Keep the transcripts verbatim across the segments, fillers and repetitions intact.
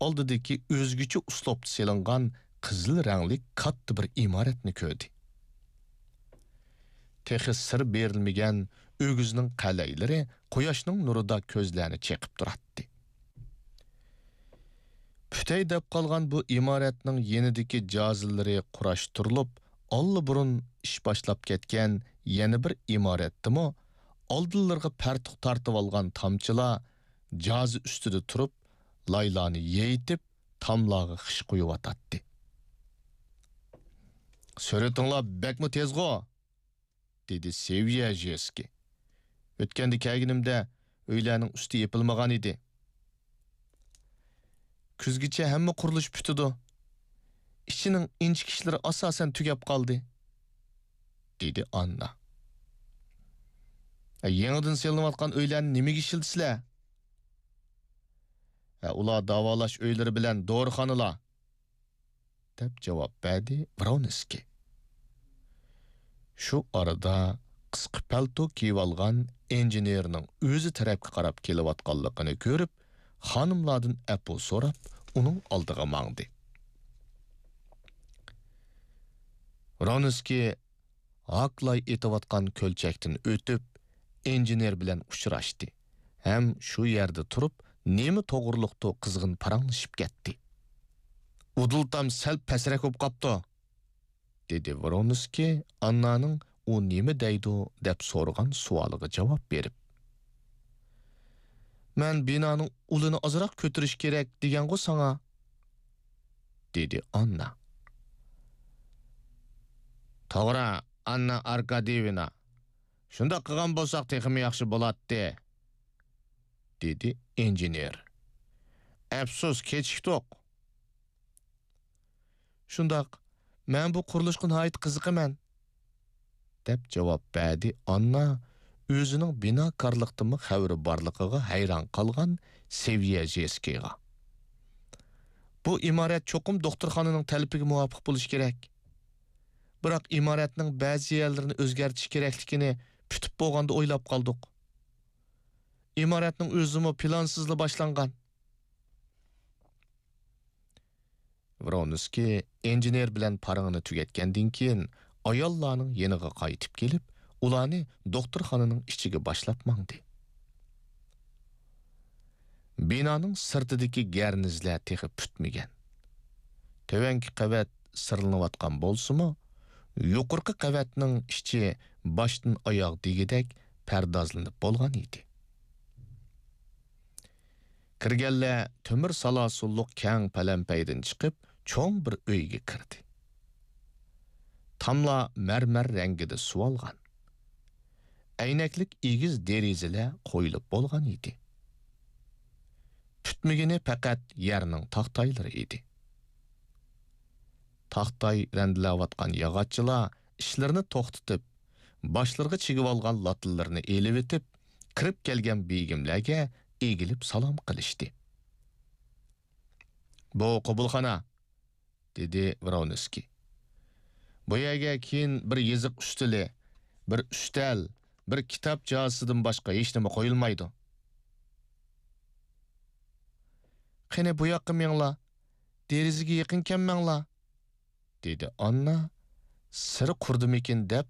ئالدىدىكى ئۆزگىچە ئۇسلۇبتا سېلىنغان قىزىل رەڭلىك كاتتا بىر ئىمارەتنى كۆردى. تېخى سىر بېرىلمىگەن ئۆگزىنىڭ قەلەيلىرى قۇياشنىڭ نۇرىدا كۆزلەرنى چېقىپ تۇراتتى. پۈتەي دەپ قالغان بۇ ئىمارەتنىڭ يېنىدىكى جازىلىرى قۇراشتۇرۇلۇپ، ئاللىبۇرۇن ئىش باشلاپ كەتكەن يەنە بىر ئىمارەتتىمۇ ئالدىلىرىغا پەرتۇق تارتىۋالغان تامچىلار جازا ئۈستىدە تۇرۇپ، لايلارنى يېيىتىپ، تاملارغا خىش قويۇۋاتاتتى. «سۈرئىتىڭلار بەكمۇ تېزغۇ!» دېدى سېۋيەژېسكىي. «ئۆتكەندە كەلگىنىمدە ئۆيلەرنىڭ ئۈستى يېپىلمىغان ئىدى.» «كۈزگىچە ھەممە قۇرۇلۇش پۈتىدۇ. ئىچىنىڭ ئىنچىكە ئىشلىرى ئاساسەن تۈگەپ قالدى.» دېدى ئاننا. «ئە، يېڭىدىن سېلىنىۋاتقان ئۆيلەرنى نېمىگە ئىشلىتىسىلەر؟» «ئە، ئۇلار داۋالاش ئۆيلىرى بىلەن دورىخانىلار.» دەپ جاۋاب بەردى ۋرونسكىي. شۇ ئارىدا قىسقا پەلتو كىيىۋالغان ئىنژېنېرنىڭ ئۆزى تەرەپكە قاراپ كېلىۋاتقانلىقىنى كۆرۈپ، خانىملاردىن ئەپۇ سوراپ، ئۇنىڭ ئالدىغا ماڭدى. ۋرونسكىي ھاكلاي ئېتىۋاتقان كۆلچەكتىن ئۆتۈپ، ئىنژېنېر بىلەن ئۇچراشتى ھەم شۇ يەردە تۇرۇپ، نېمە توغرۇلۇقتۇ قىزغىن پاراڭلىشىپ كەتتى. «ئۇدۇل تام سەل پەسرەك بولۇپ قاپتۇ.» دېدى ۋرونسكىي ئاننانىڭ ئۇ نېمە دەيدۇ دەپ سورىغان سوئالىغا جاۋاب بېرىپ. «مەن بىنانىڭ ئۇلىنى ئازراق كۆتۈرۈش كېرەك دېگەنغۇ ساڭا؟» دېدى ئاننا. «توغرا، ئاننا ئاركاديېۋنا. شۇنداق قىلغان بولساق تېخىمۇ ياخشى بولاتتى.» دېدى ئىنژېنېر. «ئەپسۇس، كېچىكتۇق.» «شۇنداق، مەن بۇ قۇرۇلۇشقا ناھايىتى قىزىقىمەن.» دەپ جاۋاب بەردى ئاننا ئۆزىنىڭ بىناكارلىقتىنمۇ خەۋىرى بارلىقىغا ھەيران قالغان سېۋيەژېسكىيغا. «بۇ ئىمارەت چوقۇم دوختۇرخانىنىڭ تەلىپىگە مۇۋاپىق بولۇشى كېرەك. بىراق ئىمارەتنىڭ بەزى يەرلىرىنى ئۆزگەرتىش كېرەكلىكىنى پۈتۈپ بولغاندا ئويلاپ قالدۇق. ئىمارەتنىڭ ئۆزىمۇ پىلانسىزلا باشلانغان.» ۋرونسكىي ئىنژېنېر بىلەن پارىڭىنى تۈگەتكەندىن كېيىن، ئاياللارنىڭ يېنىغا قايتىپ كېلىپ، ئۇلارنى دوختۇرخانىنىڭ ئىچىگە باشلاپ ماڭدى. بىنانىڭ سىرتىدىكى گەرنىزلەر تېخى پۈتمىگەن. تۆۋەنكى قەۋەت سىرلىنىۋاتقان بولسىمۇ، يۇقىرىقى قەۋەتنىڭ ئىچى باشتىن ئاياغ دېگۈدەك پەردازلىنىپ بولغان ئىدى. كىرگەنلەر تۆمۈر سالاسۇنلۇق كەڭ پەلەمپەيدىن چىقىپ، چوڭ بىر ئۆيگە كىردى. تاملار مەرمەر رەڭگىدە سۇۋالغان. ئەينەكلىك ئېگىز دېرىزىلەر قويۇلۇپ بولغان ئىدى. پۈتمىگىنى پەقەت يەرنىڭ تاختايلىرى ئىدى. تاختاي رەندىلەۋاتقان ياغاچچىلار ئىشلىرىنى توختىتىپ، باشلىرىغا چىگىۋالغان لاتىلىرىنى ئېلىۋېتىپ، كىرىپ كەلگەن بېگىملەرگە ئېگىلىپ سالام قىلىشتى. «بۇ قوبۇلخانا.» دېدى ۋرونسكىي. «بۇ يەرگە كېيىن بىر يېزىق ئۈستىلى، بىر ئۈستەل، بىر كىتاب جازىسىدىن باشقا ھېچنېمە قويۇلمايدۇ.» «قېنى، بۇ ياققا مېڭىڭلار، دېرىزىگە يېقىن كەلمەڭلار.» دېدى ئاننا سىر قۇرىدىمىكىن دەپ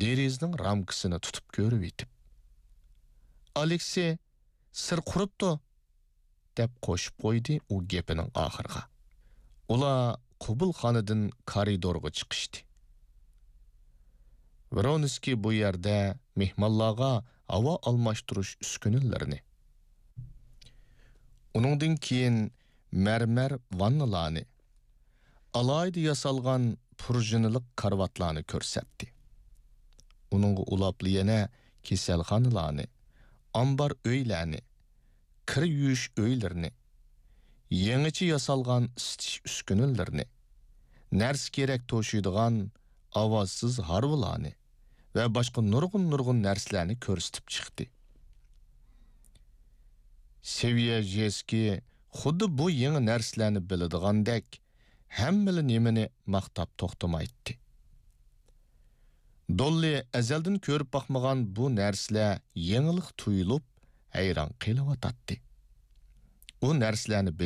دېرىزىنىڭ رامكىسىنى تۇتۇپ كۆرۈۋېتىپ. «ئالېكسېي، سىر قۇرۇپتۇ!» دەپ قوشۇپ قويدى ئۇ گېپىنىڭ ئاخىرىغا. ئۇلار قوبۇلخانىدىن كارىدورغا چىقىشتى. ۋرونسكىي بۇ يەردە مېھمانلارغا ھاۋا ئالماشتۇرۇش ئۈسكۈنىلىرىنى، ئۇنىڭدىن كېيىن مەرمەر ۋاننىلارنى، ئالاھىدە ياسالغان پۇرژىنىلىق كارىۋاتلارنى كۆرسەتتى. ئۇنىڭغا ئۇلاپلا يەنە كېسەلخانىلارنى، ئامبار ئۆيلەرنى، كىر يۇيۇش ئۆيلىرىنى، يېڭىچە ياسالغان ئىسىتىش ئۈسكۈنىلىرىنى، نەرسە-كېرەك توشۇيدىغان ئاۋازسىز ھارۋىلارنى ۋە باشقا نۇرغۇن-نۇرغۇن نەرسىلەرنى كۆرسىتىپ چىقتى. سېۋيەژېسكىي خۇددى بۇ يېڭى نەرسىلەرنى بىلىدىغاندەك، ھەممىلا نېمىنى ماختاپ توختىمايتتى. دوللى ئەزەلدىن كۆرۈپ باقمىغان بۇ نەرسىلەر يېڭىلىق تۇيۇلۇپ، ھەيران قېلىۋاتاتتى. ئۇ نەرسىلەرنى بىلىش